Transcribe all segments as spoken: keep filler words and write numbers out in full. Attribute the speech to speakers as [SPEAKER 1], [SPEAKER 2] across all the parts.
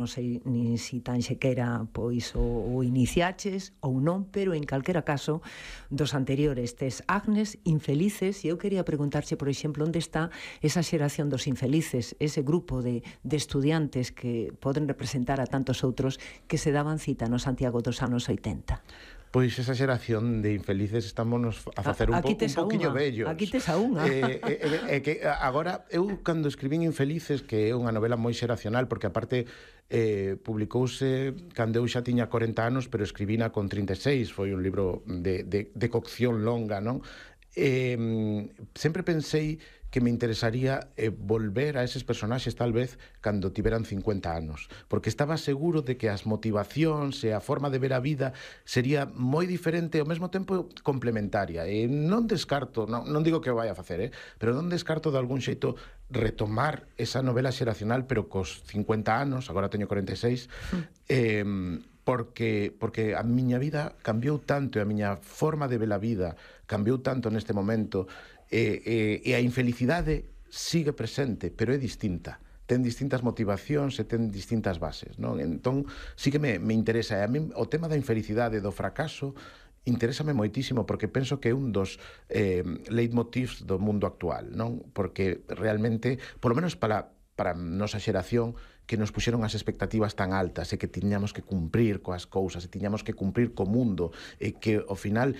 [SPEAKER 1] non sei nin si tan sequera pois o, o iniciaches ou non, pero en calquera caso dos anteriores tes Agnes, Infelices, e eu quería preguntarche, por exemplo, onde está esa xeración dos infelices, ese grupo de, de estudiantes que poden representar a tantos outros que se daban cita no Santiago dos anos oitenta.
[SPEAKER 2] Pois esa xeración de infelices estamos a facer un, po, un poquinho vellos.
[SPEAKER 1] Aquí tes a unha.
[SPEAKER 2] Eh, eh, eh, que agora, eu cando escribín Infelices, que é unha novela moi xeracional, porque aparte eh, publicouse cando eu xa tiña corenta anos, pero escribina con trinta e seis, foi un libro de, de, de cocción longa, non? Eh, sempre pensei que me interesaría eh, volver a eses personaxes tal vez cando tiveran cincuenta anos, porque estaba seguro de que as motivacións e a forma de ver a vida sería moi diferente e ao mesmo tempo complementaria. E non descarto, non, non digo que o vai a facer, eh, pero non descarto de algún xeito retomar esa novela xeracional, pero cos cincuenta anos, agora teño corenta e seis, eh, porque porque a miña vida cambiou tanto e a miña forma de ver a vida cambiou tanto neste momento, e, e, e a infelicidade sigue presente, pero é distinta, ten distintas motivacións e ten distintas bases, non? Entón, sí que me, me interesa, e a mí o tema da infelicidade, do fracaso, interésame moitísimo, porque penso que é un dos eh, leitmotivs do mundo actual, non? Porque realmente, polo menos para, para nosa xeración, que nos puxeron as expectativas tan altas e que tiñamos que cumprir coas cousas, e tiñamos que cumprir co mundo, e que ao final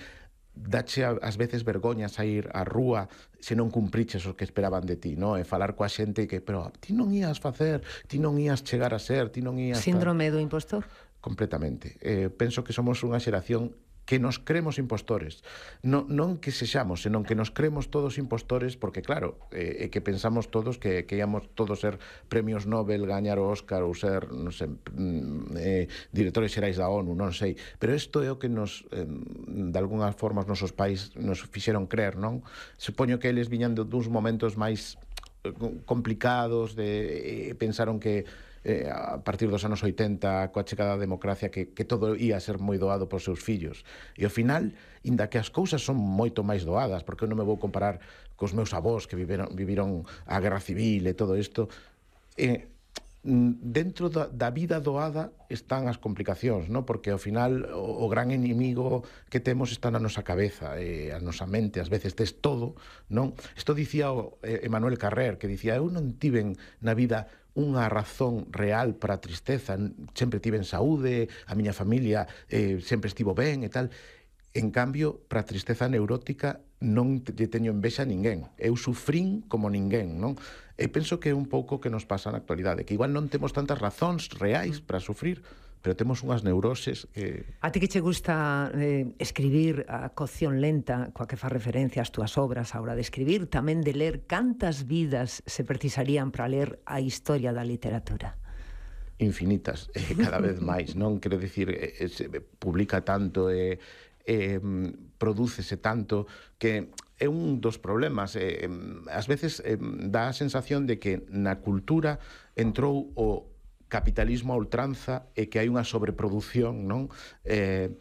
[SPEAKER 2] dache ás veces vergoña sair á rúa se non cumpriches o que esperaban de ti, non? E falar coa xente que, pero ti non ías facer, ti non ías chegar a ser, ti non ías...
[SPEAKER 1] Síndrome do impostor?
[SPEAKER 2] Completamente. Eh, penso que somos unha xeración que nos cremos impostores, non, non que sexamos, senón que nos cremos todos impostores, porque claro, é eh, que pensamos todos que, que íamos todos ser premios Nobel, gañar o Óscar ou ser, non sei, eh, directores xerais da ONU, non sei, pero isto é o que nos, eh, de algunha forma, os nosos pais nos fixeron creer, non? Supoño que eles viñan duns momentos máis complicados, de, eh, pensaron que Eh, a partir dos anos oitenta, coa chegada da democracia, que, que todo ia ser moi doado por seus fillos. E ao final, inda que as cousas son moito máis doadas, porque eu non me vou comparar cos meus avós que viviron, viviron a guerra civil e todo isto, eh, dentro da, da vida doada están as complicacións, non? Porque ao final o, o gran inimigo que temos está na nosa cabeza, e a nosa mente, ás veces tes todo, non? Isto dicía o Emmanuel Carrer, que dicía, eu non tiven na vida unha razón real para a tristeza, sempre tiven saúde, a miña familia eh, sempre estivo ben e tal. En cambio, para a tristeza neurótica non lle teño envexa a ninguén. Eu sufrín como ninguén, non? E penso que é un pouco que nos pasa na actualidade, que igual non temos tantas razóns reais para sufrir, pero temos unhas neuroses que...
[SPEAKER 1] A ti que che gusta eh, escribir a cocción lenta, coa que fa referencia ás túas obras a hora de escribir, tamén de ler, cantas vidas se precisarían para ler a historia da literatura?
[SPEAKER 2] Infinitas, eh, cada vez máis, non? Quero dicir, eh, se publica tanto e... Eh, prodúcese tanto que é un dos problemas. Eh, ás veces eh, dá a sensación de que na cultura entrou o capitalismo a ultranza e que hai unha sobreproducción, non? Eh,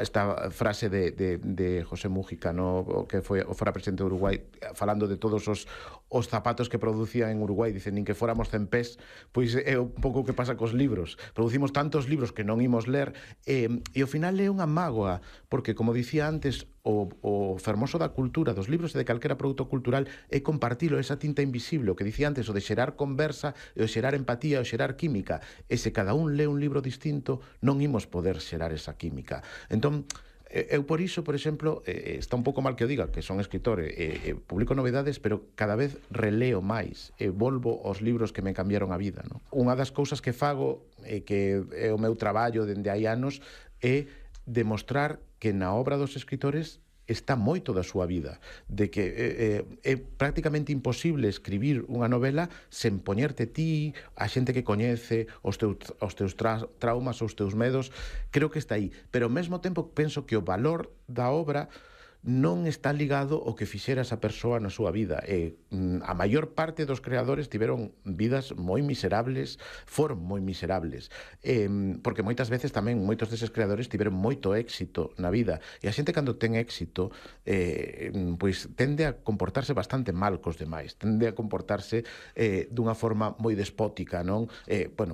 [SPEAKER 2] esta frase de, de, de José Mújica, no, que foi o fora presidente de Uruguai, falando de todos os, os zapatos que producía en Uruguai, dicen, nin que fóramos cen pés, pois é un pouco o que pasa cos libros. Producimos tantos libros que non imos ler, e, e ao final é unha mágoa, porque, como dicía antes, o, o fermoso da cultura, dos libros e de calquera produto cultural é compartilo, esa tinta invisible, o que dicía antes, o de xerar conversa, e o xerar empatía, o xerar química. E se cada un lee un libro distinto, non imos poder xerar esa química. Entón, eu por iso, por exemplo, eh, está un pouco mal que o diga, que son escritor, e eh, publico novedades, pero cada vez releo máis, e volvo aos libros que me cambiaron a vida, non? Unha das cousas que fago, e que é o meu traballo dende hai anos, é demostrar que na obra dos escritores está moito da súa vida, de que eh, é prácticamente imposible escribir unha novela sen poñerte ti, a xente que coñece, os teus, os teus tra traumas, os teus medos. Creo que está aí, pero ao mesmo tempo penso que o valor da obra non está ligado ao que fixera esa persoa na súa vida. E a maior parte dos creadores tiveron vidas moi miserables, foron moi miserables, e, porque moitas veces tamén moitos deses creadores tiveron moito éxito na vida, e a xente cando ten éxito eh, pois tende a comportarse bastante mal cos demais, tende a comportarse eh, dunha forma moi despótica, non? Eh, bueno,